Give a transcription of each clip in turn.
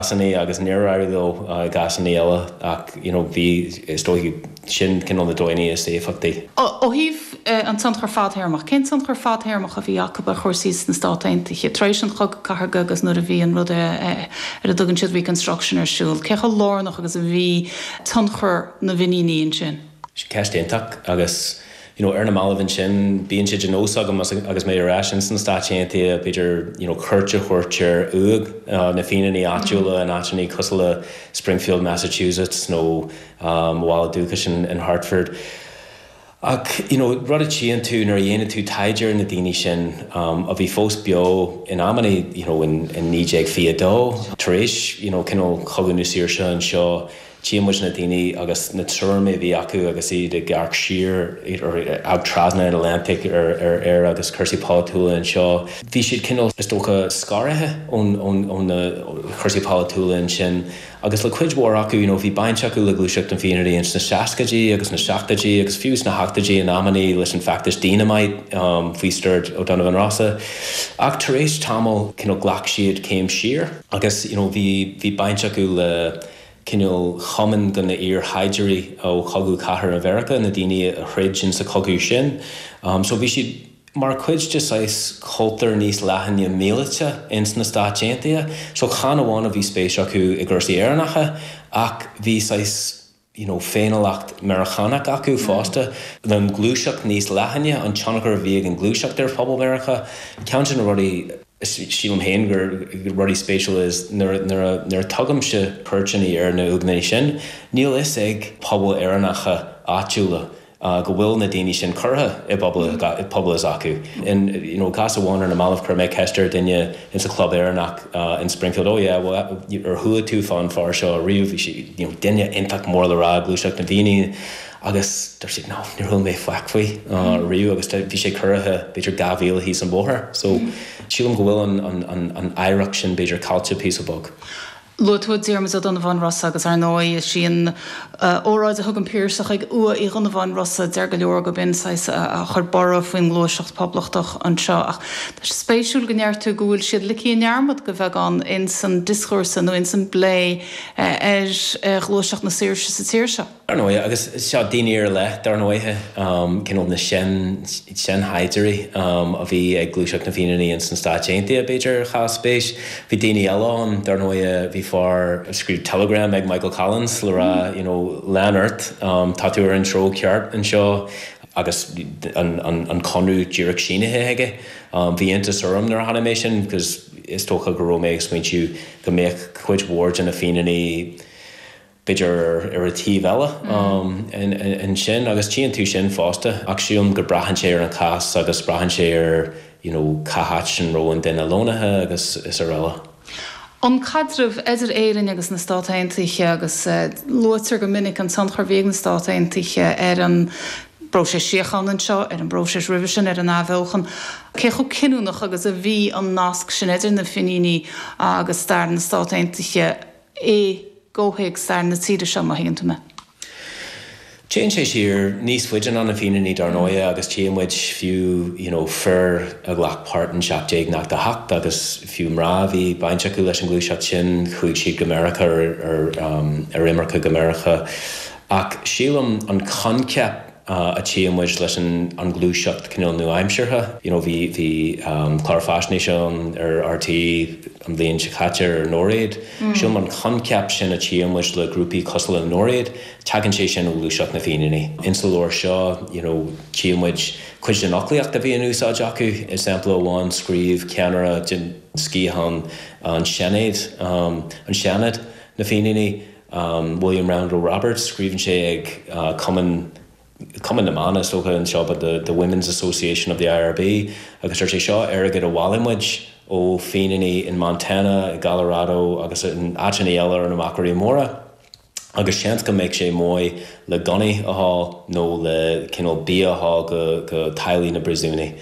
Cásanna agus níor éirigh leo i gcásanna eile ach you know bhí, is dóigh, sin cineál na dóigheanna is éifeachtaí. Ó thaobh an tionchar fadthéarmach, cén tionchar fadthéarmach a bhí acu ar chúrsaí sna Stáit Aontaithe tar éis an Chogadh Cathartha agus nuair a bhí an rud ar a dtugann siad Reconstruction ar siúl? Cé chomh lárnach agus a bhí tionchar na bhFiníní ansin? Ceist iontach agus you know ar na mallaibh ansin bíonn sé de nós agam agus mé ar ais ins na Stáit Aontaithe b'fhéidir you know cuairt a thabhairt ar uaigh na Fíníní áitiúla in áiteanna cosúil le Springfield, Massachusetts nó mo bhaile dúchais in Hartford. Ach you know rud a tchíonn tú nuair a dhéanann tú taighde ar na daoine sin a bhí fós beo in amanna you know in 1922 tar éis you know cineál Chogadh na Saoirse anseo, Tchíonn muid na daoine agus na tuairimí a bhí acu agus iad ag amharc siar, ag trasna an Atlantaigh ar Éire agus cúrsaí polaitiúla anseo. Bhí siad cineál, is dócha, scartha ó na cúrsaí polaitiúla ansin agus le cuid mhór acu, you know, bhí baint acu le Gluaiseacht na bhFianairí ins na seascaidí agus na seachtóidí agus fiú sna hochtóidí in amannaí leis an feachtas Dínimite faoi stiúir O'Donovan Rossa. Ach tar éis tamaill, cineál ghlac siad céim siar agus, you know, bhí bhí baint acu le cineál chumann de na iar-shaighdiúirí ó Chogadh Cathartha Mheiriceá, na daoine a throid in sa chogadh sin. So bhí siad mar chuid de saghas cultúr níos leathaine míleata ins na Stáit Aontaithe. So chan amháin a bhí spéis acu i gcúrsaí Éireannacha ach bhí saghas you know féiniúlacht Meiriceánach acu fosta. An ghluaiseacht níos leathaine, an tionchar a bhí ag an ghluaiseacht ar phobal Mheiriceá, ceann de na rudaí, Sílim féin gur rudaí spéisiúla is nuair a tugaimse cuairteanna ar na uaigheanna sin, níl fhios ag pobail Éireannacha áitiúla go bhfuil na daoine sin curtha i bpobail s'acu. In you know cás amháin ar na mallaibh chuir mé ceist ar duine in sa chlub Éireannach in Springfield, oh yeah, well ar chuala tú fán fear seo riamh? Bhí sé you know duine iontach mór le rá i gluaiseacht na bhFíníní. Agus dúirt siad, no, níor chuala mé faic faoi riamh agus bhí sé curtha b'fhéidir 2 mhíle thíos an bóthar. So sílim go bhfuil an oidhreacht sin b'fhéidir caillte píosa beag. Luaigh tú Diarmuid Ó Donnabháin Rosa agus ar ndóigh is í an óráid a thug an Piarsach ag uaigh Uí Dhonnabháin Rosa, deir go leor go b'in saghas a chuir borradh faoin ngluaiseacht poblachtach anseo. Ach tá sé spéisiúil go ndeir tú go bhfuil siad ligthe i ndearmad go bheagán ins an dioscúrsa nó ins an bplé ar ghluaiseacht na saoirse sa tír seo. Dar ndóighe, agus seo daoine ar leith, dar ndóighe, cineál na sean-seanshaighdiúirí a bhí ag Gluaiseacht na bhFíníní ins na Stáit Aontaithe, b'fhéidir, a chaill spéis. Bhí daoine eile ann, dar ndóighe, bhí fear a scríobh telegram ag Michael Collins le rá, you know, lean ort, tá tú ar an treo ceart anseo, agus an conradh díreach sínithe aige. Bhí iontas orm nuair a chonaic mé sin, because is dócha go raibh mé ag smaointiú go mbeadh cuid mhór de na Fíníní, b'fhéidir ar an taobh eile ansin agus tchíonn tú sin fosta ach sílim go braitheann sé ar an chás agus braitheann sé ar you know cá háit an raibh an duine lonnaithe agus is araile. An caidreamh idir Éirinn agus na Stáit Aontaithe agus luaitear go minic an tionchar a bhí ag na Stáit Aontaithe ar an bpróiseas síochána anseo, ar an bpróiseas roimhe sin, ar an athbheochan. Cé chomh cinniúnach agus a bhí an nasc sin idir na Finíní agus stair na Stát Aontaithe i gcomhthéacs stair na tíre seo, má thuigeann tú mé. Téann sé siar níos faide ná na Fíníní dar ndóighe agus tchíonn muid fiú you know fir a ghlac páirt in 1798 agus fiú mná a bhí baint acu leis an ghluaiseacht sin, chuaigh siad go Meiriceá ar ar imirce go Meiriceá. Ach sílim an coincheap a tchíonn muid leis an ghluaiseacht cineál nua-aimseartha. You know bhí bhí clár faisnéise ann ar RTÉ an bhliain seo caite ar Nóiréad. Sílim an coincheap sin a tchíonn muid le grúpaí cosúil le Nóiréad, tagann sé sin ó ghluaiseacht na bhFíníní. Insa leabhar seo you know tchíonn muid cuid den fhoclaíocht a bhí in úsáid acu. I sampla amháin scríobh ceannaire den sciathán an Seanad, an Seanad na Fíníní, William Roundell Roberts, scríobhann sé ag Cumann, Cumann na mBan is dócha anseo but the the Women's Association of the IRB agus deir sé seo airgead a bhailigh muid ó Fíníní in Montana, i gColorado agus in áiteanna eile ar na Machairí Móra agus seans go mbeadh sé maith le gunnaí a fháil nó le cineál bia a fháil go go teaghlaigh na bpríosúnaigh.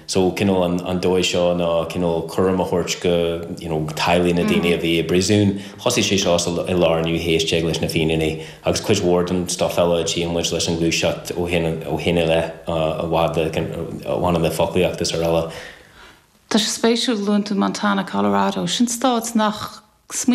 So cineál an an dóigh seo ná cineál cúram a thabhairt go you know teaghlaigh na daoine a bhí i bpríosún. Thosaigh sé seo sa i lár an naoú haois déag leis na Fíníní agus cuid mhór den stuff eile a tchíonn muid leis an ghluaiseacht ó shin ó shin i leith a bhain le a bhaineann le foclaíocht is araile. Tá sé spéisiúil, luann tú Montana, Colorado, sin stáit nach. Smaoinigh.